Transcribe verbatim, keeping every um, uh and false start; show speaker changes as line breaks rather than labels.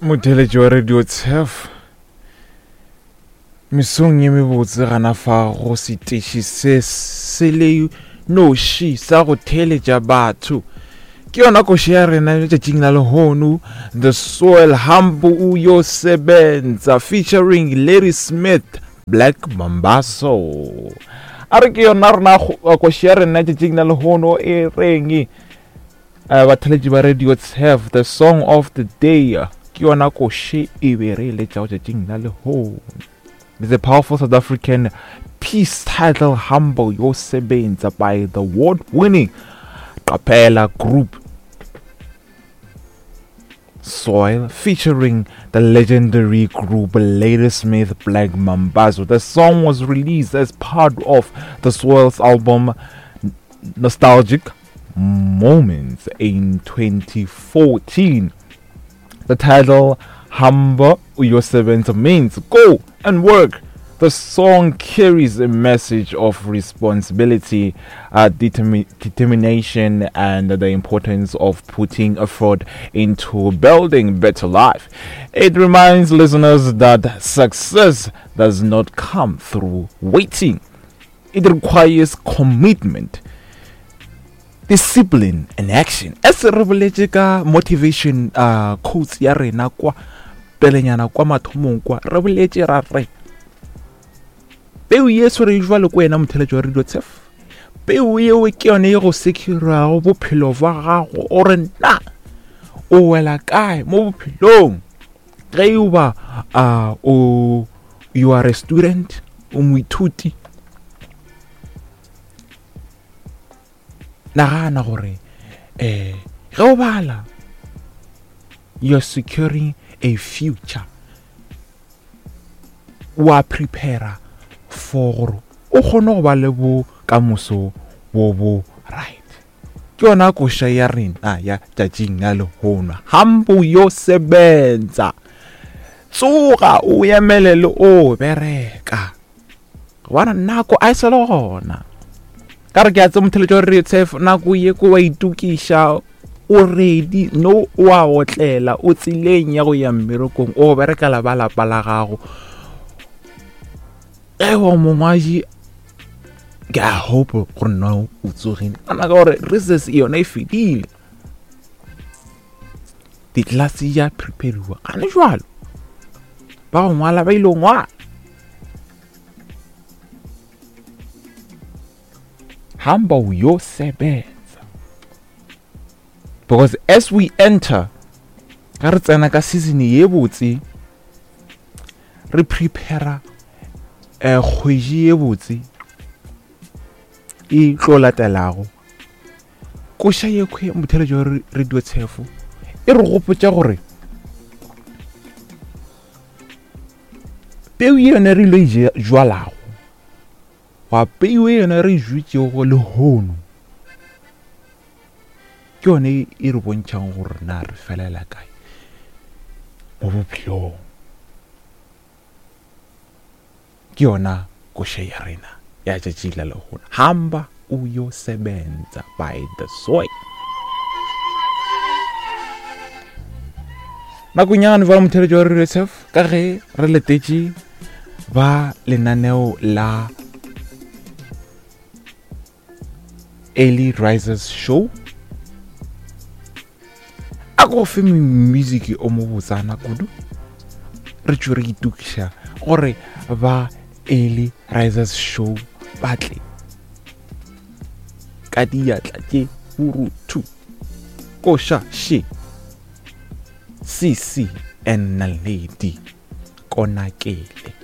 Motheeletši wa Radio Turf, mesong ye mebotse gana fa go seteši se se le noši sa go theeletša batho. Ke yona koša ya rena letšatšing la lehono, The Soil Hambo Uyosebenza featuring Ladysmith Black Mambazo. A re ke yona rena koša ya rena letšatšing la lehono e reng uh, batheeletši ba Radio Turf, the song of the day. Ke yona koše e be re e letšago tšatšing la lehono. The powerful South African piece titled Hamba Uyosebenza by the award-winning Cappella group Soil, featuring the legendary group Ladysmith Black Mambazo. The song was released as part of the Soil's album Nostalgic Moments in twenty fourteen. The title Hamba Uyosebenza means go and work. The song carries a message of responsibility, uh, determi- determination, and the importance of putting effort into building better life. It reminds listeners that success does not come through waiting. It requires commitment, discipline, and action. As re boletše ka motivation uh, quotes ya rena kwa pelenyana kwa mathomong kwa, re boletše ra re peu ye swere jwalo ko wena motheeletši wa Radio Turf, peu yeo ke yone e go securago bophelo bja gago gore na o wela kae mo bophelong. Ge e ba uh, o you are a student, o moithuti, nagana gore eh ge o bala you are securing a future, wa prepare for gore o kgone go ba le bokamoso bo bo right. Ke yona koša ya rena ya tšatšing la lehono, Hamba Uyosebenza. Tsoga o emelele o bereka, gobane nako a e sa le gona. Ka re ke a tse motheeletši wa Radio Turf, nako ye ko wa itokiša, o ready, no o a otlela, o tseleng ya go ya mmerekong, o berekela ba lapa la gago. Ewa mongwaji, ke a hope gore nna o tsogile kana ka gore recess yona e fedile, ditlelase ya prepariwa gane jwalo, ba go ngwala ba ile go ngwala. Hamba uyosebenza, because as we enter ga re tsena ka season ye botse, re prepare eh kgwedi ye botse e tlo latelago. Koša ye kgwe motheeletši wa Radio Turf e re gopotša gore peu ye yone re ile e jwalago, wa peu ye yone re e jwetšego lehono, ke yone e re bontšhang gore na re felela kae mo bophelong. Ke yona koša ya rena ya tšatši la lehono, Hamba Uyosebenza by the Soil. Nakonyana ba motheeletši wa Radio Turf, ka ge re letetše ba lenaneo la Early Risers Show, a go fe music o mo botsana kudu, re tšwe re itokiša gore ba Early Risers Show ba tle ka diatla tše boruthu. Koša še C C and Naledi Konakele.